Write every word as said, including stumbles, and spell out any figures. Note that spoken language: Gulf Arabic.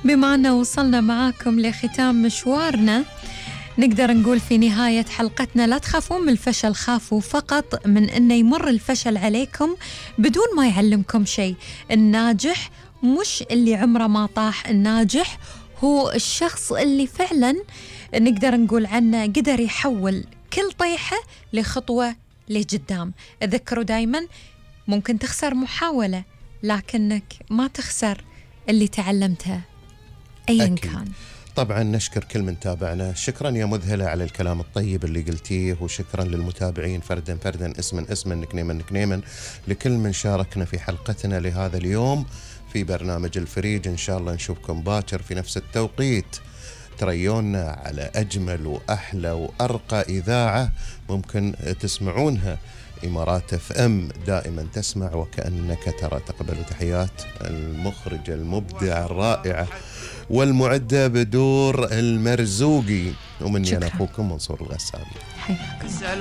بما أنه وصلنا معاكم لختام مشوارنا، نقدر نقول في نهاية حلقتنا لا تخافون من الفشل، خافوا فقط من أنه يمر الفشل عليكم بدون ما يعلمكم شيء. الناجح مش اللي عمره ما طاح، الناجح هو الشخص اللي فعلا نقدر نقول عنه قدر يحول كل طيحة لخطوة لقدام. اذكروا دايما ممكن تخسر محاولة، لكنك ما تخسر اللي تعلمته أيا كان. طبعا نشكر كل من تابعنا، شكرا يا مذهلة على الكلام الطيب اللي قلتيه، وشكرا للمتابعين فردا فردا، اسما اسما، نكنيما نكنيما، لكل من شاركنا في حلقتنا لهذا اليوم في برنامج الفريج. إن شاء الله نشوفكم باكر في نفس التوقيت، تريونا على أجمل وأحلى وأرقى إذاعة ممكن تسمعونها، إمارات اف ام، دائما تسمع وكأنك ترى. تقبلوا تحيات المخرجة المبدعة الرائعة والمعدة بدور المرزوقي، ومني أنا أخوكم منصور الغساني.